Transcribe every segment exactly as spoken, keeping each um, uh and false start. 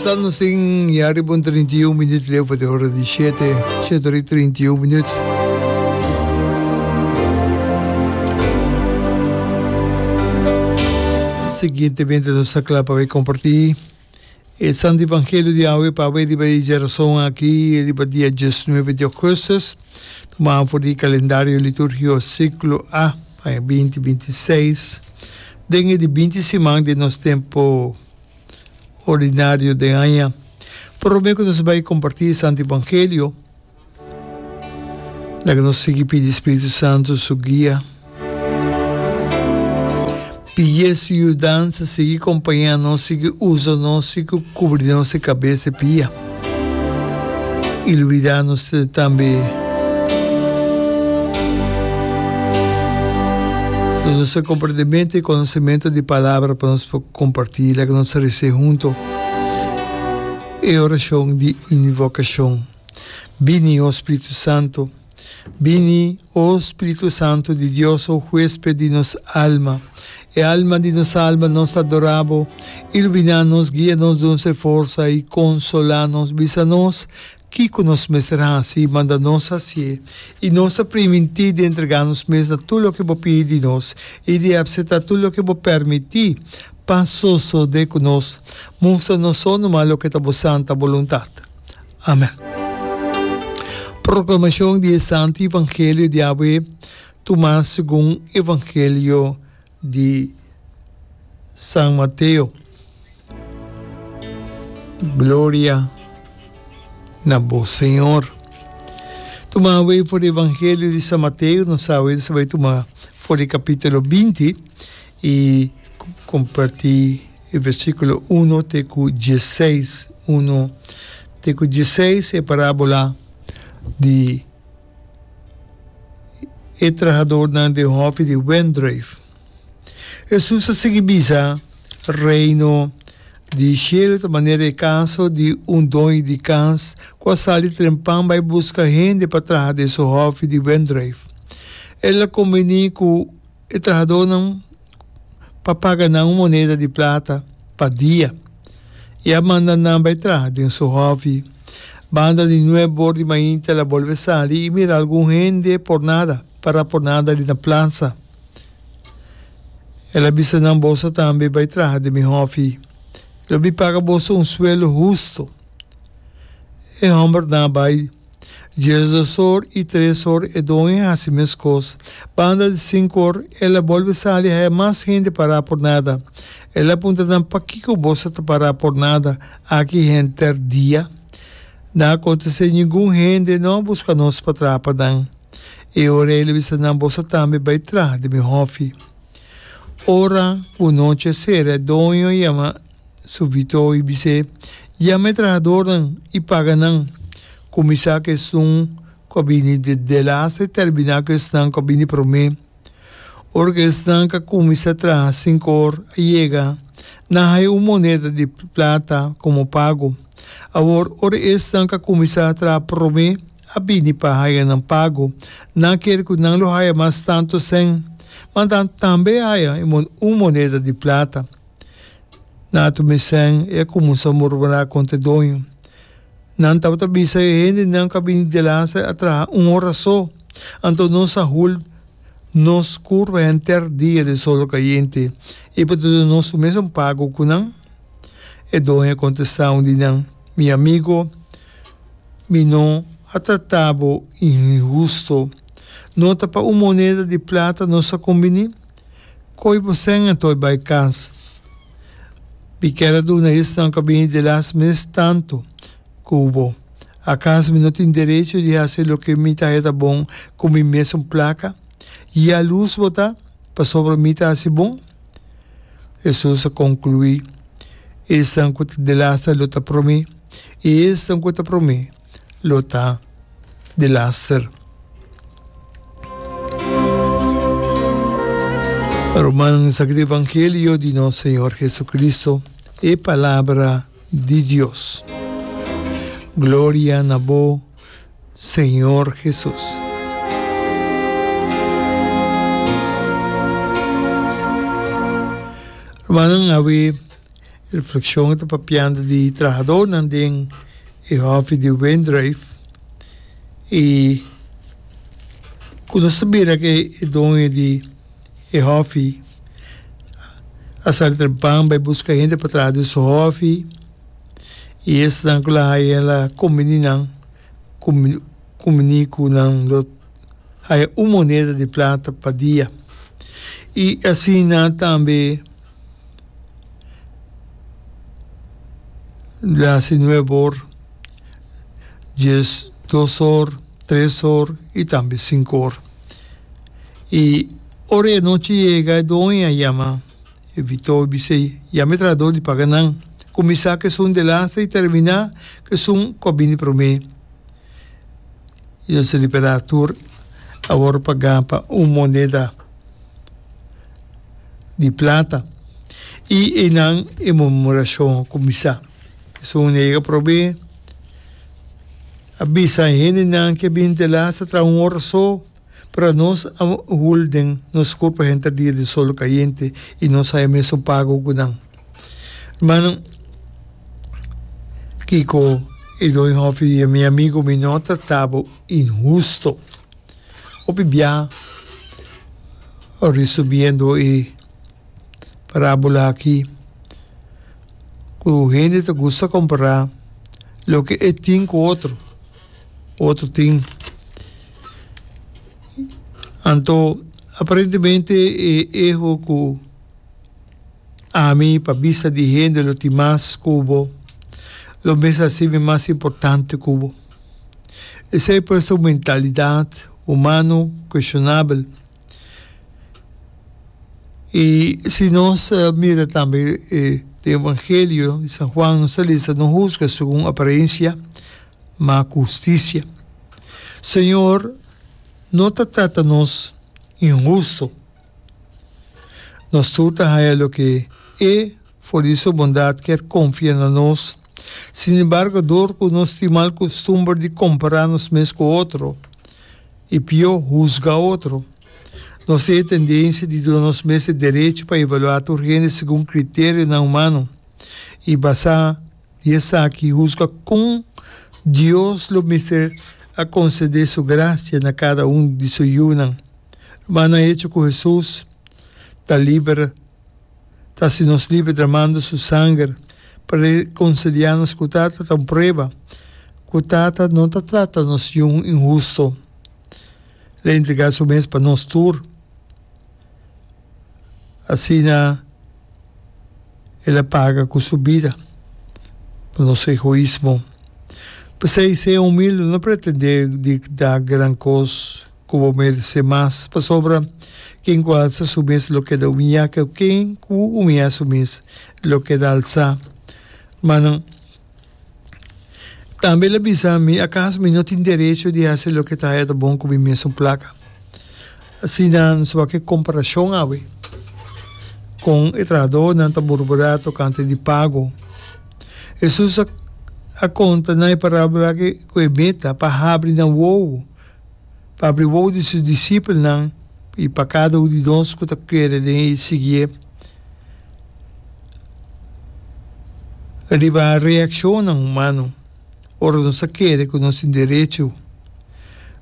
Sta nos tin ya riba un trinta i un minuut leu pa di ora di shete, shete ora i trinta i un minuut. Siguientemente nos ta kla pa bai kompartí e Santo Evangelio di awe pa awe riba e djerason aki riba dia diesnuebe di ougùstùs, tumá for di kalendario litúrgiko siklo A pa aña binti binti seis, den e di binti siman di nos tempu ordinario den aña. Promé ku nos bai kompartí e Santo Evangelio, laga nos sigui pidi Spiritu Santu su guia. Pidié su yudansa sigui kompañá nos, sigui usa nos, sigui kubri nos di kabes te pia. I lubidá nos tambe duna nos e komprendementu i konosementu di Palabra pa nos por kompartí. Laga nos rese hunto e orashon di invokashon. Bini, o Spiritu Santu. Bini, o Spiritu Santu di Dios, o huesped di nos alma. E alma di nos alma, nos ta adorá bo. Iluminá nos, guia nos, duna nos e forsa i konsolá nos. Bisa nos kiko nos mester hasi i manda nos hasié. I nos ta primintí di entregá nos mes na tur loke bo pidi di nos i di apseptá tur loke bo permití pa sosodé ku nos. Mustra nos so numa loke ta bo santa boluntat. Amen. Proklamashon di e Santu Evangelio di awe tumá segun Evangelio di San Mateo. Gloria na bo, Señor. Tuma awe for di Evangelio di San Mateo, nos awe nos ta bai tuma for di capítulo binti i comparti e versículo uno te ku diesseis. Uno te ku diesseis, e parábola di e trahadornan den hòfi di wendruif. Hesus a sigui bisa, Reino di shelu ta manera e kaso di un doño di kas ku a sali trempan bai buska hende pa traha den su hòfi di wendruif. El a kombiní ku e trahadónan pa paga nan un moneda di plata pa dia i a manda nan bai traha den su hòfi. Banda di nuebe or di mainta el a bolbe sali i mira algun hende por nada, pará por nada li na plasa. El a bisa nan, Boso tambe bai traha den mi hòfi. Lo mi paga boso un sueldo hustu. E hòmbernan a bai. Diesdos or i tres or e doño a hasi meskos. Banda di sinku or el a bolbe sali haya mas hende pará por nada. El a puntra nan, Pakiko boso ta pará por nada aki henter dia? Nan a kontest'é, Ningun hende no a buska nos pa traha pa nan. E ora el a bisa nan, Boso tambe bai traha den mi hòfi. Ora ku nochi a sera e doño a yama su vitó i bis'é, Yama e trahadornan i paga nan. Kuminsá ku esun ku a bini di delaster i terminá ku esnan ku a bini promé. Ora ku esnan ku a kuminsá traha sinku or a yega, nan a haña un moneda di plata komo pago. Awor, ora esnan ku a kuminsá traha promé a bini pa haña nan pago, nan a kere ku nan lo haña mas tantu sèn, ma nan tambe a haña un moneda di plata. Nan a tuma e sèn i a kuminsá murmurá kontra e doño. Nan tabata bisa e hendenan ku a bini delaster a traha un ora so, anto nos a hul nos kurpa henter dia den solo kayente i bo ta duna nos su mesun pago ku nan? E doño a kontestá un di nan, Mi amigo, mi no a trata bo inhusto. No ta pa un moneda di plata nos a kumbiní? Koe bo sèn anto i bai kas. Mi kier a duna esnan ku a bini delas mes tantu ku bo. Akaso mi no tin derecho di hasi loke mi ta haya ta bon ku mi mesun plaka? Yalus bo ta pasobra mi ta hasi bon? Hesus a konkluí, Esnan ku ta delaster lo ta promé, i esnan ku ta promé lo ta delaster. Rumannan, esaki ta evangelio di nos Señor Jesucristo, e palabra di Dios. Gloria na bo, Señor Jesus. Rumannan, awe Reflekshon ta papiando di trahadónan den e hòfi di wendrùif i ku nos ta mira ku e doño di e hòfi a sali trempan bai buska hende pa traha den su hòfi i esnan ku lo haya el a kombiní nan kumbiní ku nan lo haya un moneda di plata pa dia i asina tambe lo hasi nuebe or, dies dos or, tres or i tambe sinku or. I ora e anochi yega e doño a yama e vitó i bis'é, Yama e trahadó di paga nan, kuminsá ku esun delaster i terminá ku esun ku a bini promé. I nos a liberá tur a wòrdu pagá pa un moneda di plata. I einan e murmurashon a kuminsá. Esun nega promé a bisa e hendenan ku a bini delaster traha un ora so. Pero nos a hul den nos kurpa henter dia den solo kayente i nos haya mesun pago ku nan. Hermano, kiko e doño hòfi di mi amigu mi no trata bo inhusto. Hopi bia resumiendo e parábola aki ku hende ta gusta kompará loke e tin ku otro. Otro tin. Anto aparentemente e eho ku ami pa bista di hende lo tin mas ku bo, lo mester hasi mi mas importante ku bo. Esei por ta un mentalidat humano kueshonabel. I si nos mira tambe e den Evangelio di San Juan nos ta lesa no husga segun aparensia, ma ku hustisia. Señor no ta trata nos inhusto. Nos tur ta haña loke E, for di Su bondat, kier konfia na nos. Sin embargo, dor ku nos tin mal kustumber di kompará nos mes ku otro i pió, husga otro, nos tin e tendensia di duna nos mes e derecho pa evaluá tur hende segun kriterionan humano i basá Di esaki husga kon Dios lo mester a konsedé su grasia na kada un di su yunan. Rumannan, e echo ku Hesus ta liber ta hasi nos liber dramando su sanger pa rekonsiliá nos ku Tata ta un prueba ku Tata no ta trata nos yun inhusto. El a entregá su mes pa nos tur. Asina el a paga ku su bida pa nos egoismo. P'esei, sea humilde, no pretendé di da gran kos ku bo meresé mas, pasobra ken ku alsa su mes lo keda humiyá, ku ken ku humiyá su mes lo keda alsá. Rumannan, tambe el a bisa mi, Akaso mi no tin derecho di hasi loke ta haya ta bon ku mi mesun plaka? Asina nos wak e komparashon awe kon e trahadónan ta murmurá tokante di pago. Hesus a konta nan e parábola aki ku e meta pa habri nan wowo, pa habri wowo di su disipelnan i pa kada un di nos ku ta kere den e i siguié. Riba reakshonnan humano ora nos ta kere ku nos tin derecho.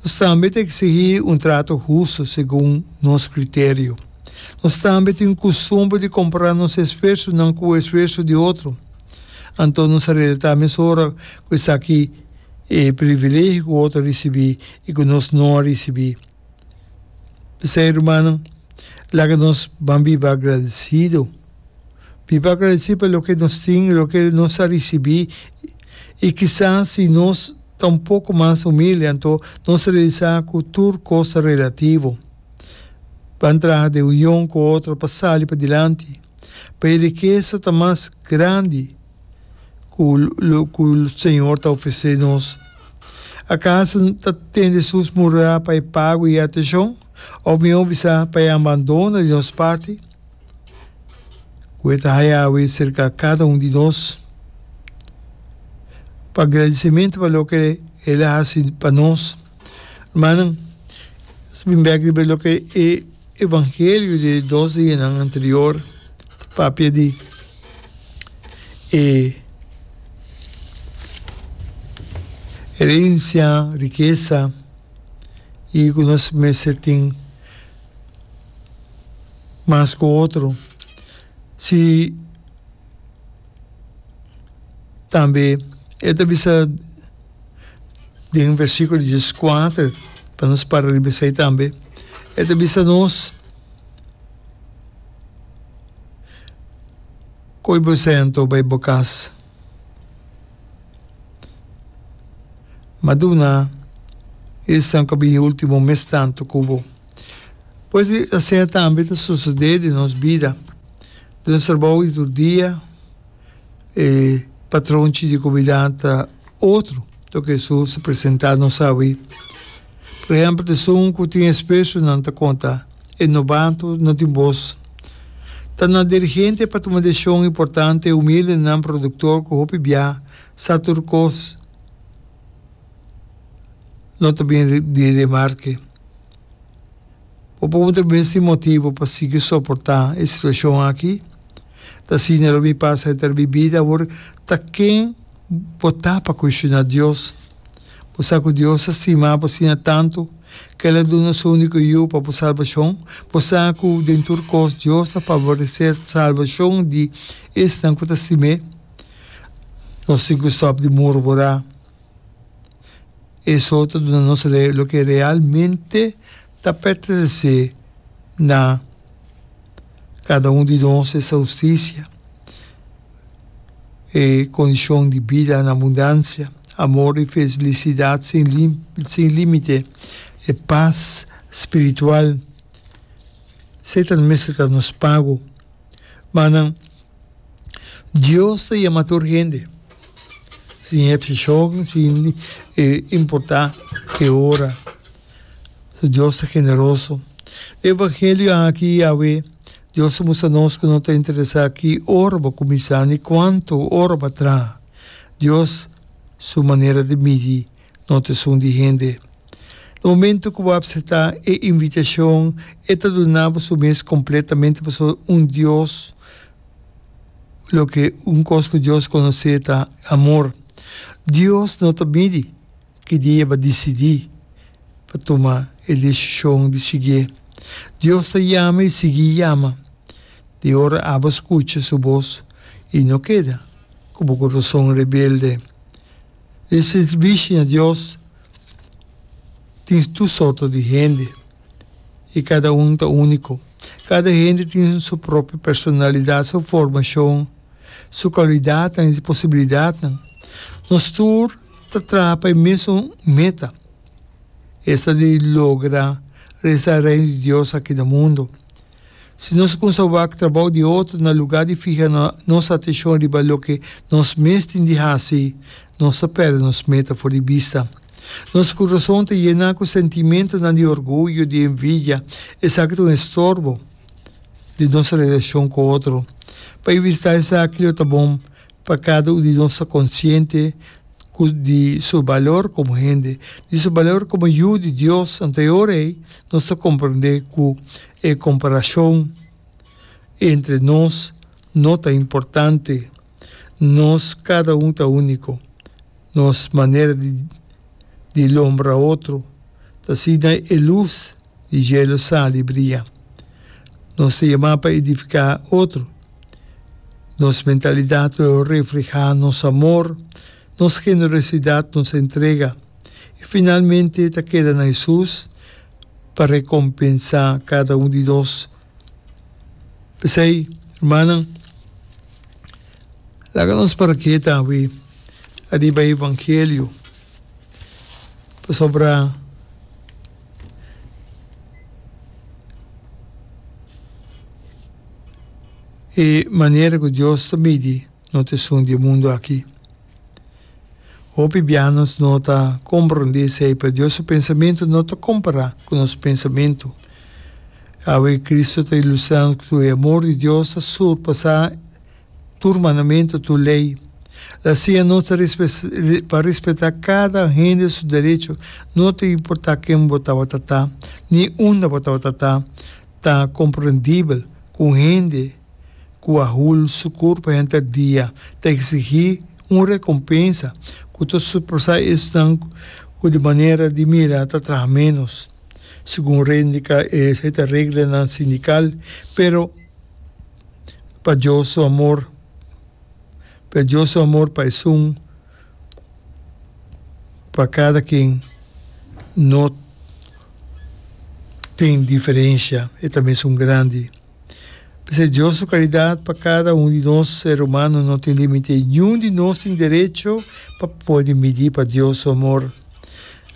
Nos tambe ta eksigí un trato hustu segun nos kriterio. Nos tambe tin kustumber di kompará nos esfuersonan ku esfuerso di otro. Anto nos a relatá mesora ku esaki e privilegio ku otro a risibí i ku nos no a risibí. P'esei, rumannan, laga nos ban biba agradesido. Biba agradesí pa loke nos tin, loke nos a risibí, i kisas si nos ta un poko mas humilde, anto nos realisá ku tur kos ta relativo. Ban traha den union ku otro pa sali padilanti, pa e rikesa ta mas grandi ku ku Señor ta ofresé nos. Akaso ta tende Hesus murmurá pa e pago i atenshon, òf mihó bisá pa e abandono di nos parti? Ku e ta haya awe serka kada un di nos pa gradisimentu pa loke el a hasi pa nos. Hermannan, nos bin bek riba loke e evangelio di e dos dianan anterior ta papia di. E herensia, rikesa i ku nos mester tin mas ku otro. Si tambe e ta bisa den versíkulo dieskuater, pa nos para riba esei tambe, e ta bisa nos, Koe bo esei anto bai bo kas. Ma duna esnan ku a bini último mes tantu ku bo. Pues di asina tambe ta sosodé den nos bida. Den nos trabou di tur dia e patronchi di kumida ta otro loke Hesus ta presentá nos awe. Por ehèmpel, ta esun ku tin espesonan ta konta, e nobato no tin bos. Ta na dirigente pa tuma desishon importante, humildenan produktor ku hopi bia sa tur kos no ta bin di remarke. Bo por puntra mes tin motibu pa sigui soportá e situashon aki? Ta asina lo mi pasa henter mi bida awor? Ta ken bo ta pa kuestioná Dios? Bo sa ku Dios ta stima bo asina tantu ku el a duna su úniko Yu pa bo salbashon? Bo sa ku den tur kos Dios ta favoresé salbashon di esnan ku ta stim'é? Nos tin ku stòp di murmurá. Eso ta duna nos loke realmente ta pertenesé na kada un di nos, esta hustisia, e kondishon di bida na abundansia, amor i felisidat sin sin límite, e pas spiritual. Satan mester ta nos pago. Manan, Dios ta yama tur hende, sin epseshon, sin importá e ora. Dios ta generoso. Den evangelio aki awe, Dios ta mustra nos ku no ta interesá ki ora bo kuminsá ni kuantu ora bo a traha. Dios su manera di midi no ta esun di hende. Na momento ku bo apseptá e invitashon, e ta duna bo su mes kompletamente pasobra un Dios, loke un kos ku Dios konosé ta amor. Dios no ta midi ki dia bo a disidí pa tuma e desishon di siguié. Dios ta yama i sigui yama. Di ora abo skucha su bos i no keda ku bo kurason rebelde. Den sirbishi na Dios tin tur sorto di hende i kada un ta úniko. Kada hende tin su propio personalidat, su formashon, su kualidatnan i posibilidatnan. Nos tur ta traha pa e mesun meta, esta di logra resa Reino di Dios aki na mundu. Si nos kumsa wak trabou di otro na lugá di fiha nos atenshon riba loke nos mes tin di hasi, nos ta pèrdè nos meta for di bista. Nos kurason ta yená ku sentimentunan di orguyo, di envidia. Esaki ta un estorbo den nos relashon ku otro. Pa evitá esaki lo ta bon pa kada un di nos ta konsiente ku di su balor komo hende, di su balor komo yu di Dios. Anto e ora ei nos ta komprendé ku e komparashon entre nos no ta importante. Nos kada un ta úniko. Nos manera di di lombra otro ta asina e lus di dje lo sali bria. Nos ta yamá pa edifiká otro. Nos mentalidat lo reflehá nos amor, nos generosidat, nos entrega. I finalmente ta keda na Hesus pa rekompensá kada un di nos. P'esei, rumannan, laga nos para keda awe ariba e evangelio, pasobra e manera ku Dios ta midi no ta esun di e mundu aki. Hopi bia nos no ta komprondé esei, pero Dios su pensamentu no ta kompará ku nos pensamentu. Awe Kristu ta ilustrá nos ku e amor di Dios ta surpasá tur mandamentu, tur lei. El a siña nos ta pa respetá kada hende su derecho, no ta importá ken bo tabata ta ni unda bo tabata ta. Ta komprendibel ku un hende Ku a hul su kurpa henter dia, ta eksigí un rekompensa ku ta surpasá esnan ku di manera di mira ta traha ménos. Segun Rendika esei ta reglanan sindikal, pero pa Dios su amor, pero Dios su amor pa esun pa kada ken no tin diferensha, e ta mesun grandi. P'esei Dios su karidat pa kada un di nos ser humano no tin límite. Niun di nos tin derecho pa pone midí pa Dios su amor.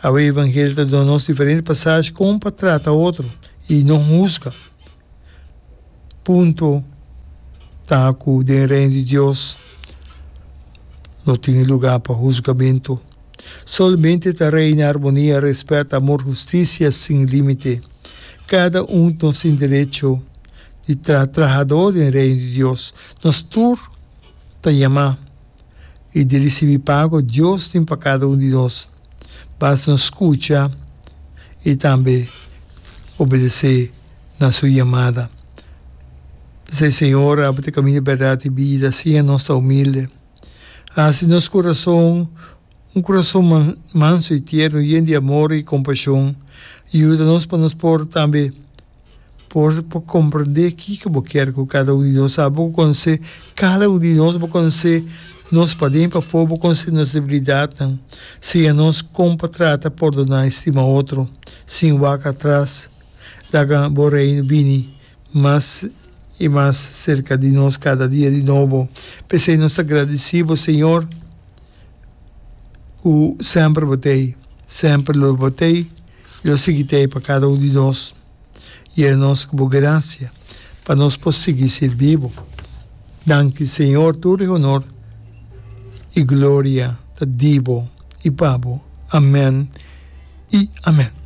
Awe Evangelio ta duna nos diferente pasashi kon pa trata otro i no husga. Punto ta ku den Reino di Dios no tin lugá pa husgamentu. Solamente ta reina armonia, rèspèt, amor, hustisia sin límite. Kada un nos tin derecho di ta trahadó den Reino di Dios. Nos tur ta yamá i di risibí pago Dios tin pa kada un di nos. Basta nos skucha i tambe obedesé na su yamada. P'esei, Señor, abo ta e kaminda, bèrdat i bida. Siña nos ta humilde. Hasi nos kurason un kurason mansu i tierno, yen di amor i kompashon. Yuda nos pa nos por tambe por por komprendé kiko bo kier ku kada un di nos. Abo ku konosé kada un di nos, bo konosé nos paden i pafó, bo konosé nos debilidatnan. Siña nos kon pa trata, pordoná i stima otro sin wak atras. Laga bo Reino bini mas i mas serka di nos kada dia di nobo. P'esei nos ta gradisí bo, Señor, ku semper bo t'ei, semper lo bo t'ei i lo sigui t'ei pa kada un di nos. Yena nos ku bo grasia pa nos por sigui sirbi bo. Danki, Señor, tur e honor i gloria ta di bo i pa bo. Amen i amen.